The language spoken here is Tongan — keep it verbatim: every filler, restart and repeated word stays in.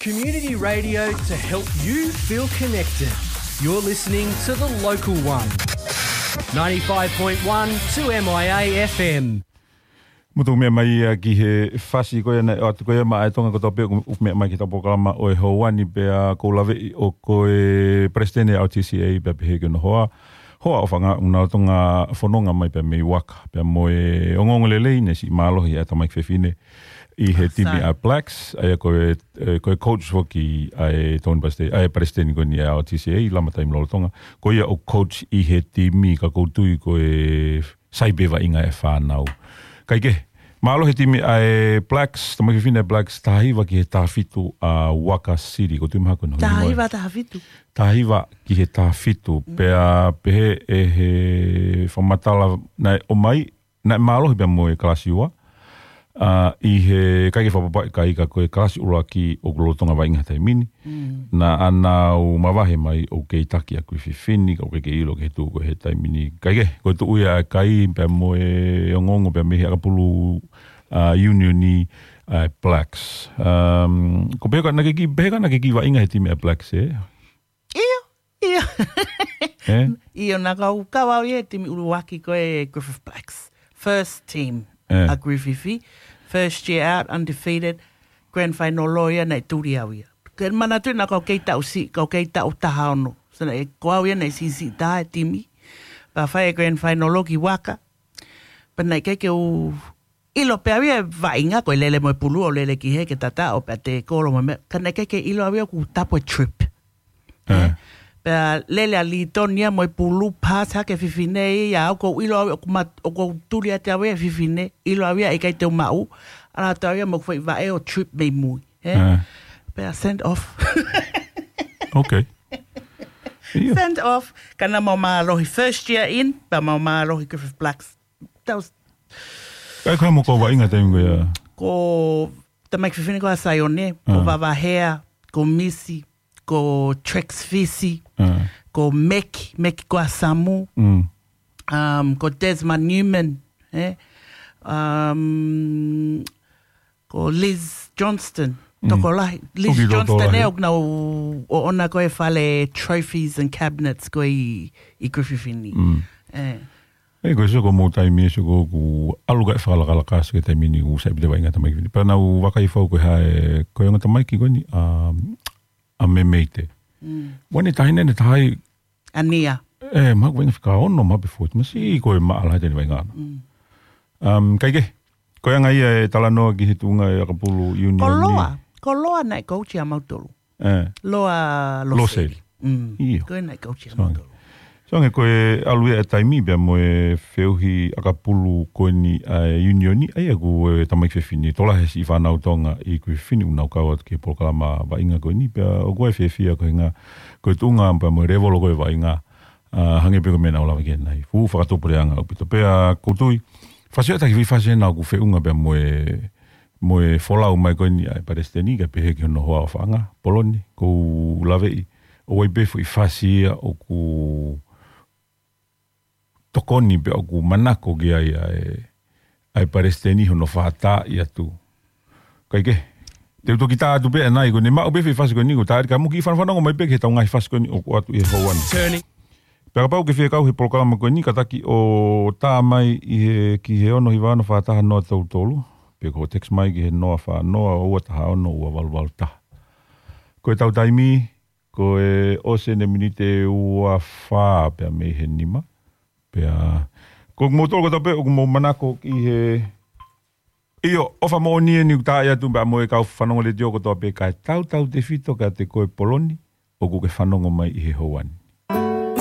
Community radio to help you feel connected. You're listening to The Local One. ninety-five point one two M I A F M. Mutu meʻa mai ia ki he fasi ko ia naʻe ʻoatu ko ia maʻa e Tonga kotoa pē ʻoku meʻa mai ki he polokalama ʻo e Houani pea kou laveʻi ʻoku ko e Palesiteni ʻa e R T C A pea pehē ki hono hoa. Hoa ʻo Fanga ʻoku nau toki fononga mai pea mei Waka. Pea mo e ongoongo lelei naʻe siʻi mālohi ʻa e tamaiki fefine ʻi he timi ʻa e Blacks. ʻA ia ko e, e, ko e coach foki ʻa e Tonga Palesiteni, ʻa e Palesiteni ko eni ʻa e R T C A, lama taimi lolotonga. Ko ia ʻoku coach ʻi he timi ka kou tui ko e sai pē vaʻinga e fānau. Kae kehe, mālohi e timi ʻa e Blacks, tamaiki fefine Blacks, taha hiva ki he taha fitu ʻa Waka City. Kou tui mahalo ko e nau. Taha hiva, taha fitu. Taha hiva ki he taha fitu. Mm. Pea pehē ʻe he fakamatala naʻe ʻomai, naʻe mālohi pea mo e kalasi ua. ʻA, ʻi he ʻikai ke fakapapaʻi kai ka ko e kalasi ʻuluaki ʻoku lolotonga vaʻinga he taimi ni. Mm. Naʻa nau mavahe mai ʻoku kei taki ʻa Griffith Fini, ka ʻoku kei ʻilo ki he tuʻu ko ē he taimi ni. Kae kehe, ko e tuʻu ia ʻa e kai pea mo e ongoongo pea mei he ʻakapulu, ʻa, Union ni, ʻa e Blacks. Um, ko pehē ko ā naʻe kei, pehē ko ā naʻe kei vaʻinga he timi ʻa e Blacks, ē? ʻIo, ʻio. Ē? ʻIo, naʻa ku kau au ia he timi ʻuluaki ko e Griffith Blacks. First team ʻa Griffith. First year out, undefeated, grand final ʻo ia naʻe tuli au ia. Ke manatu naʻa ku kei taʻu siʻi, ku kei taʻu taha ono. So naʻe ko au ia naʻe siʻisiʻi taha he timi. Pea fai e grand final ʻo ki Waka. Pea naʻe ʻikai ke u ʻilo pē au ia vaʻinga ko e lele mo e pulu ʻo lele ki he ke tata ʻo pea te kolo mo e meʻa. Ka naʻe ʻikai ke ʻilo au ia ʻoku tapu e trip. Ē. Pea lele ʻa Liton ia mo e pulu pass hake fefine ia au kou ʻilo au ʻoku mat-, ʻoku tuli atu au ia fefine, ʻilo au ia ʻikai te u maʻu. ʻAlu atu au ia mo e foʻi vaʻe ʻo trip mei mui. Ē? Ē. Pea send off. Okay. ʻIo. Send off. Ka naʻa mau mālohi first year in, pea mau mālohi Griffith Blacks. That was Kae ko e hā mo ʻeku vaʻinga taimi ko ia? Ko tamaiki fefine ko ʻa Saione, ko Vavahea, ko Misi, ko Trex Fisi, ko Meki, Meki ko ʻa Samu, um, ko Desmond Newman, ē? Um, ko Liz Johnston, tokolahi. Liz Johnston ē, ʻoku nau ʻoʻona ko e fale trophies and cabinets ko ē ʻi, ʻi Griffith ni. Ē. Ē, ko e sio ko mou taimi ē sio ko ʻoku ʻalu kae fakalakalaka sio ki he taimi ni ʻoku sai pē te vaʻinga tamaiki fefine. Pea naʻa ku vakai fau ko e hā e, ko e ongo tamaiki ko eni, ʻa, ʻa Memeite. Wani tahi nene tahi. ʻA Nia. Ē, mahalo ko e vaʻinga fika ono, mahalo pē foʻi. Masiʻi ko e maʻala he taimi vaʻinga ʻana. Um, kae kehe, ko e anga ia e talanoa ki he tuʻunga e ʻakapulu Union ni. Ko Loa, ko Loa naʻe coach ia mautolu. Ē. Loa Loseli. Loseli. Mm. ʻIo. Ko e naʻe coach ia mautolu. So ange ko e ʻalu ia e taimi pea mo e feʻauhi ʻakapulu ko eni ʻa e Union ni, ʻa ia ko e tamaiki fefine, tokolahi siʻi fānau Tonga ʻi Griffith ni ʻoku nau kau atu ki he polokalama vaʻinga ko eni, pea ʻoku ou fiefia ko e ʻuhinga, ko e tuʻunga pea mo e level ko ē vaʻinga, ʻa, hangē pē ko e meʻa naʻa ku lave ki ai ʻanenai. Fuʻu fakatupu leʻanga ʻaupito pea kou tui. Fasi ʻa e taki fasi ena ʻoku feʻunga pea mo e mo e folau mai ko eni ʻa e Palesiteni kae pehē ki hono hoa ʻo Fanga, Poloni, kou laveʻi. ʻOku ʻi ai pē foʻi fasi ia ʻoku tokoni pea ʻoku manako ki ai ʻa e, ʻa e Palesiteni hono fātaaʻi atu. Kae kehe, te u toki tā atu pē ʻanenai ko eni maʻu pē foʻi fasi ko eni ko tā eri ka mou kiʻi fanafanongo mai pē ki he tau ngaahi fasi ko eni ʻoku ʻoatu ʻi he Houani. Pea kapau ʻoku ke fie kau he polokalama ko eni kātaki ʻo tā mai ʻi he, ki he ono hiva ono fā taha noa tolu tolu. Pe ko e text mai ki he noa fā noa ua taha ono ua valu valu taha. Ko e tau taimi, ko e ʻosi eni e miniti ua fā pea mei he nima. Pea, ko moutolu kotoa pē ʻoku mou manako ki he ʻIo, ʻofa moʻoni eni ʻoku taaʻi atu pea mo e kau fanongo letiō kotoa pē kae tautautefito kiate koe Poloni, ʻoku ke fanongo mai ʻi he Houani.